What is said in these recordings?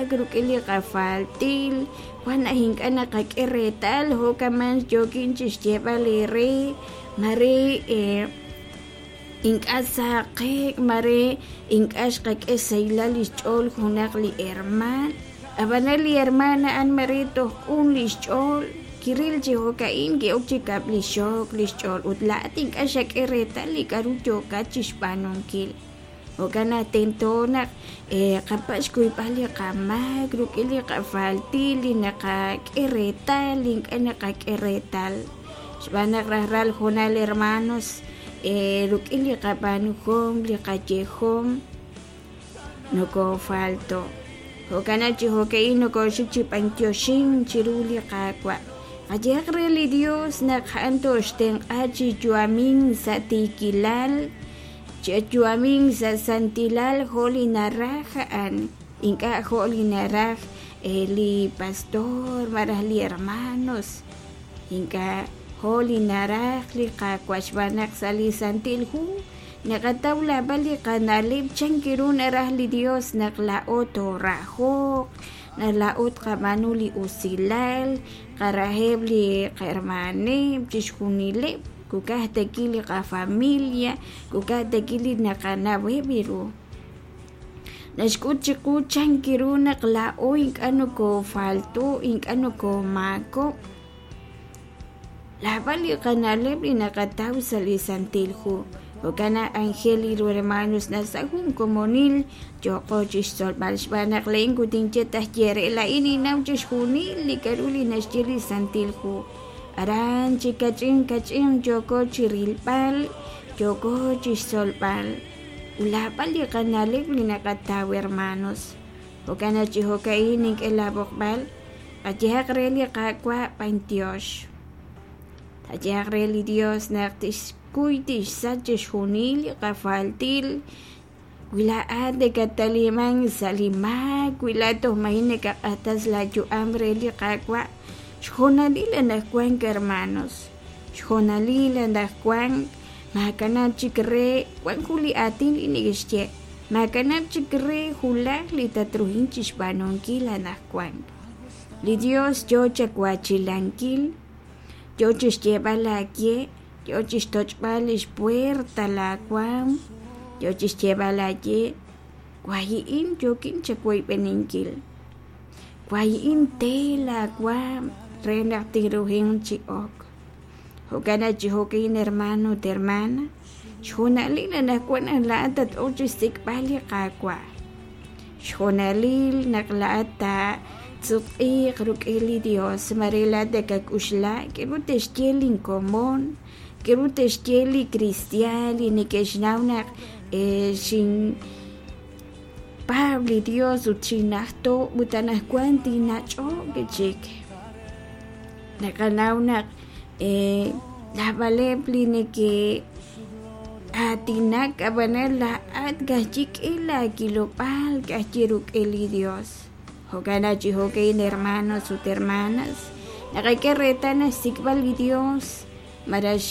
qamaak, rik'in li qafaltil, wan naq ink'a' naqak'e reetal jo'kaman yookin chixyeeb'al eere mare ink'a' saqe'k, mare ink'a' xqak'e xsahilal li xch'ool junaq li hermaan, ab'anan li hermaan a'an mare toj q'un li xch'ool, kiril chi jo'ka'in ki'ok chi kab'lixok li xch'ool ut laa'at ink'a' xak'e reetal li k'a'ru yookat chixb'aanunkil. Jo'kan naq tento naq qapatz' xkuyb'al li qamaak rik'in li qafaltil li naqak'e reetal, li ink'a' naqak'e reetal. Xb'aan naq rajlal hoonal hermanos rik'in li qab'aanuhom, li qayehom nokofalto'. Jo'kan naq chi jo'ka'in nokoxik chi b'antioxink chiru li Qaawa'. Qayehaq re li Dios naq a'an toxtenq'a chi yu'amink sa' tiikilal, chi yu'amink sa' santilal jo' li naraj a'an, ink'a' jo' li naraj li pastor malaj li hermanos, ink'a' jo' li naraj li Qaawa' xb'aan naq sa' li Santil Hu naqataw naab'al li qana'leb' chan ru naraj li Dios naq laa'o toorahoq, naq laa'o tqab'aanu li usilal, qaraheb' li qahermaneb', chixjunileb', kukaj tekil li qafamilia, kukaj tekil li naqanaweb' ru. Naxk'ut chiqu chan ru naq laa'o ink'a' nokofalto', ink'a' nokomaakok'. Naab'al li qana'leb' li naqataw sa' li Santil Hu. Jo'kan naq anjel ru hermanos naq sa' jun komonil yooqo chixtzolb'al xb'aan naq laa'in kutinye taj ye re laa'in ninnaw chixjunil li k'a'ru li naxye li Santil Hu. Aran chi kach'in kach'in yooko chirilb'al, yooko chixtzolb'al. Ut laab'al li qana'leb' li naqataw hermanos. Jo'kan naq chi jo'ka'in nink'e laab'oqb'al, qayehaq re li Qaawa' b'antiox. Qayehaq re li Dios naq tixkuy tixsach chixjunil li qafaltil, wi laa'at nakataliman sa' li maak, wi laa'at toj maji' nakaq'atas laayu'am re li Qaawa', xjoonalil anaqwan hermanos, xjoonalil anaqwan maakanab' chik re wan jun li aatin li neke'xye, maakanab' chik re julaj li tatruhin chixb'aanunkil anaqwan. Li Dios yoo chawachilankil, yoo chixyeeb'al aawe, yoo chixtoch'b'al lix puerta laawaam, yoo chixyeeb'al aawe, wahi'in yookin chawoyb'eninkil, wahi'in te laawaam re naq tinruhin chi ok. Jo'kan naq chi jo'kin hermano ut hermana, xjoonalil anaqwan naq laa'at tat-ok chixsik'b'al li Qaawa'. Xjoonalil naq laa'at taasutq'iiq rik'in li Dios, mare laa'at nakak'uxla k'aru te'xye linkomon, k'aru te'xye li kristiaan li neke'xnaw naq xinpaab' li Dios ut xinnajto' ut anaqwan tinnach'oq chik. Naqanaw naq naab'aleb' li neke'aatinak ab'anan laa'at ka'ajwi' laakilob'aal ka'ajwi' rik'in li Dios. Jo'kan naq chi jo'kan hermanos ut hermanas naqak'e reetal naq xsik'b'al li Dios malaj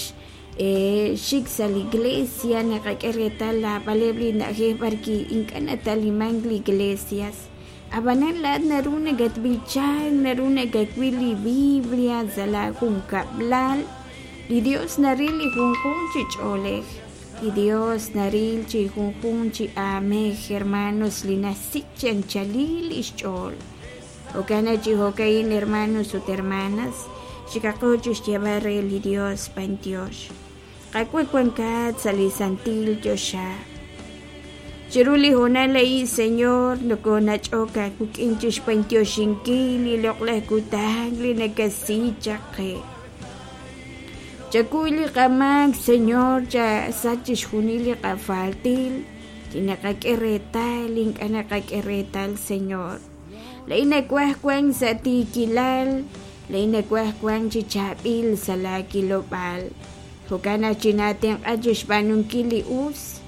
xik sa' li iglesia naqak'e reetal naab'aleb' li na'ajej b'arwi' ink'a' natalimank li iglesias. Ab'anan laa'at naru nakatb'ichank, naru nakawil li Biblia sa' laajunkab'lal. Li Dios naril li junjunq chi ch'oolej, li Dios naril chi junjunq chi aamej hermanos li naxsik' chi anchalil li xch'ool. Jo'kan naq chi jo'ka'in hermanos ut hermanas, xikaqo chixyeeb'al re li Dios b'antiox. Qaawa' wankat sa' li santil choxa. Chiru li hoonal a'in, Señor, nokonach'ok aawik'in chixb'antioxinkil li loq'laj kutan li nakasi chaq qe. Chakuy li qamaak, Señor, chasach chixjunil li qafaltil, li naqak'e reetal, li ink'a' naqak'e reetal, Señor. Laa'in nawaj wank sa' tiikilal, laa'in nawaj wank chi chaab'il sa' laakilob'aal. Jo'kan naq chinatenq'a chixb'aanunkil li us.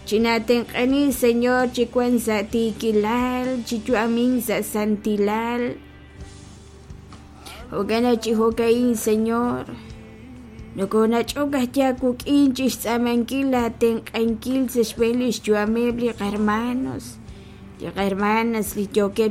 Chinatenq'ani, Señor, chi wank sa' tiikilal, chi yu'amink sa' santilal. Jo'kan naq chi jo'ka'in, Señor, nokonach'ok ajwi' aawik'in chixtz'aamankil laatenq'ankil sa' xb'een lix yu'ameb' li qahermanos, li qahermanas li yookeb'